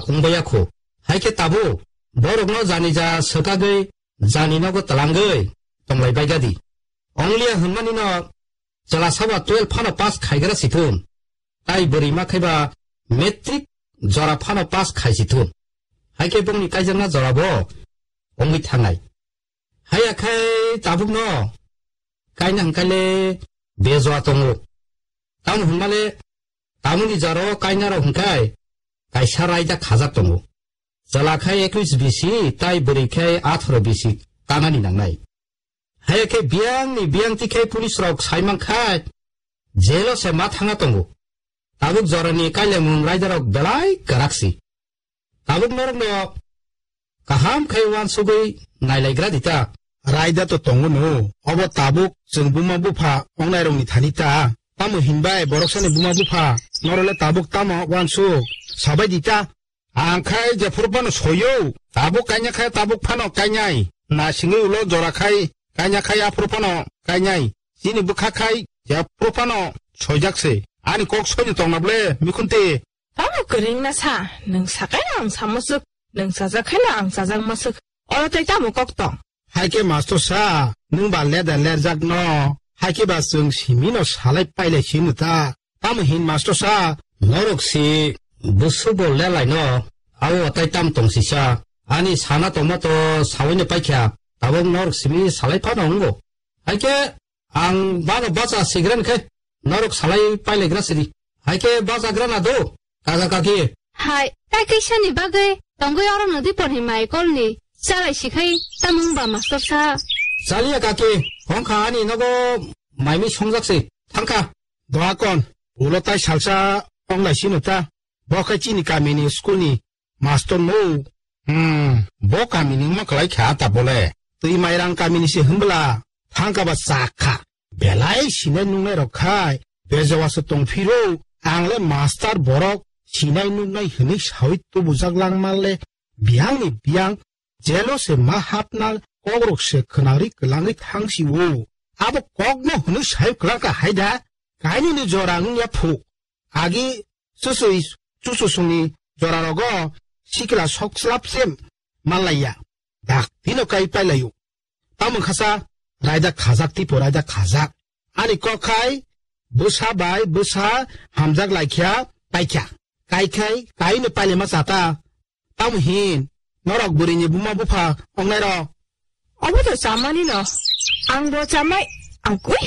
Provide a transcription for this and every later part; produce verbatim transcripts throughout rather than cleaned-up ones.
thungbaiya kho. Hai khe tabuk borokno jani ja swkagwi jani nogo twlangwi tonglai baigadi. Ongliya hwnmani no chwla sabo twelve phano pass khaigra si thun. Tai bwrwi ma khaiba matric jora phano pass khai si thun. Hai khe bongni kaijakna jorabo wngwi thangnai. Haiya khai tabukno kaina hwnkhaile bejoa tongo. Tamo hwnmale tamoni jaro kainarok hwnkhe kaisa raida khajak tongo. Chwla khai ekuis bisi tai bwrwi khai atharo bisi kanani nangnai. Haiya khe biyangni biyangti khai police rok saimankha jelo se ma thangna tongo. Tabuk jorani kailaimung raidarok belai kwraksi. Tabuk norokno kaham khai uansugwi nailaigra dita. Raida to tongo no, obo tabuk chwng buma bupha ongnairokni thani ta. Tamo hinbai boroksani buma bupha norole tabuk tamo uansuk sabai dita. Ang khai jephuru phano soyo, tabuk kanya khai tabuk phano kanyai. Nasingwi ulo jora khai kanya khai aphuru phano kanyai. Chini bwkha khai jephuru phano soijak se. Ani kok soino tongna ble mikhunti. Tamo kwrwngna sa, nwng sakai no ang sa musuk, nwng chajak khai no ang chajak musuk. Oro tei tamo kok tong? Hai khe master sa, nwng ba leda lerjak no. Hai khe ba chwng simi no salai pailai sino ta. Tamo hin master sa, norok si bwswk bo lelai no, abo tai tam tong sisa. Ani sana tongma to sawi no paikha, tabok norok simi salai phano wngo. Hai khe ang bano bacha sigren khe, norok salai pailegra sidi. Hai khe bachagra na do, kaka kaki. Hai, tai kaisani bagwi tongwi oro nodi porhi mai kolni chalai sikhai tamung ba master sa. Chaliya kaki, hongkha ani nogo maimi songjak si, thangkha. Doakon, ulo tai salsa onglai sino ta. Bo khe chini kamini school ni master no. Hmm, bo kamini wngma kwlai kha ta bole. Twi mairang kamini se hwnbwla thangka ba chak kha. Belai sinai nungnai rok khai bejawa se tong phiro. Ang le master borok sinai nungnai hwnwi sawi tubujak langma le biyang ni biyang jelo se ma hapna kokrok se khwnari kwlangwi thang si o. Abo kok no hwnwi sawi kwlangka hai da kainwi ni jora wngya phu. Agi chusui, chuchusongni jorarogo sikla sok slap se manlaiya. Dak tino kai pailaio. Tamo khasa raida khajak tipo raida khajak. Ani kok khai bwsa bai bwsa hamjak laikha paikha. Kai khai kaino pailema chata. Tamo hin norok bwrwini buma bupha ongnai rok. Obo to chamani no. Ang bo chamai agwi.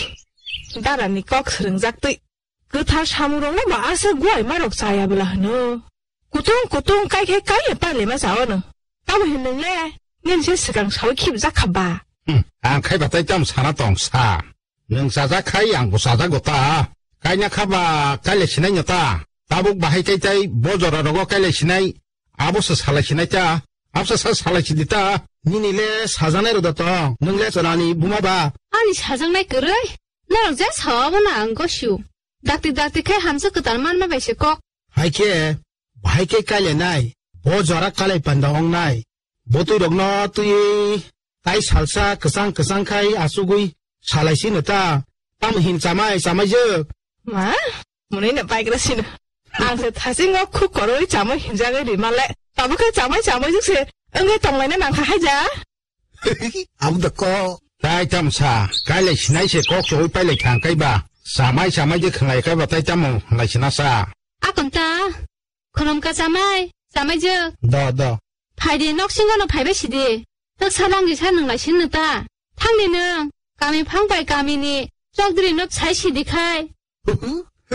Darani kok swrwngjak twi. Kwthar samungrokno ba aswk guai marok chaya bwla hwno. Kutung kutung kai khe kai le pale ma chao no. Tamo hin nwng le nini se swkang sawi khibjak kha ba. Hmm, ang khai batai tam sana tong sa. Nwng chajak khai ang bo chajago ta. Kaina kha ba kaile sinai no ta. Tabuk bahai kai tai bo jora rogo kaile sinai. Abo se salai sinai ta. Absa sa salai sidi ta. Nini le sajanai ro da tong. Nwng le chwlani buma ba. Ani sajaknai kwrwi. Norok je sao abono ang gosio. Dakti dakti khe hamsa kwtal manma bai se kok. Hai khe, bahai khe kailainai, bo jora kalai panda ongnai. Bo twi rokno twi tai salsa kwchang kwchang khai achugwi salai sino ta. Tamo hin chamai chamai jwk. Ma, mwnwi no paigra sino. Ang se thasingo khuk koroi chamai hinjagwi rima le. Tamo khe chamai chamai jwk se wngwi tonglaina nangkha haija. Abo da ko. Tai tam sa, kailai sinai se kok choi pailai khang kai ba. Samai samai je khlai kai ba tai tamo lai sina sa. Akon ta, khulum ka samai, samai je. Da, da. Phai di nok singo no phai bai sidi. Tak salang di sa nung lai sin ta. Thang di nung, kami phang bai kami ni, chok diri no sai sidi khai.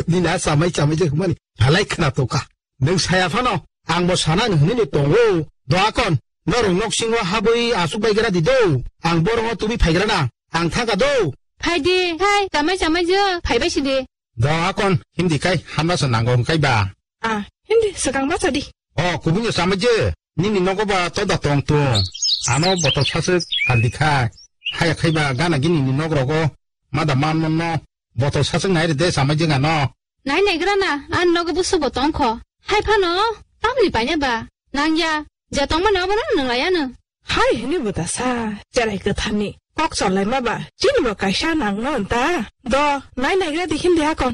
Nini a chamai chamai je hwnmani halai khna tongkha. Nwng saya phano ang bo sana ni hwnwi ni tongo. Doakon, norok nok singo habwi asuk bai gra di do. Ang borongo tubi phai gra na. Ang thangka do. Phai di, hai, chamai chamai je, phai bai sidi. Doakon, hindi kai, hamna sa nango hwn kai ba. Ah, hindi, swkang bacha di. O, kubuni chamai je, nini nogo ba toda tong tung. Ano botol saswk saldi khai. Haya khai ba gana gini ni nog rogo. Mada man mon no. Botol saswk nai re de chamai je gano. Nai nai gra na, an nogo busu bo tong kho. Hai phano, tamni paine ba. Nang ya, je tong mano abono nang laya no. Hai hini buta sa, cherai kwtharni. Kok cholai ma ba, chini bo kaisa nang no ta. Do, nai nai gra di hindi hakon.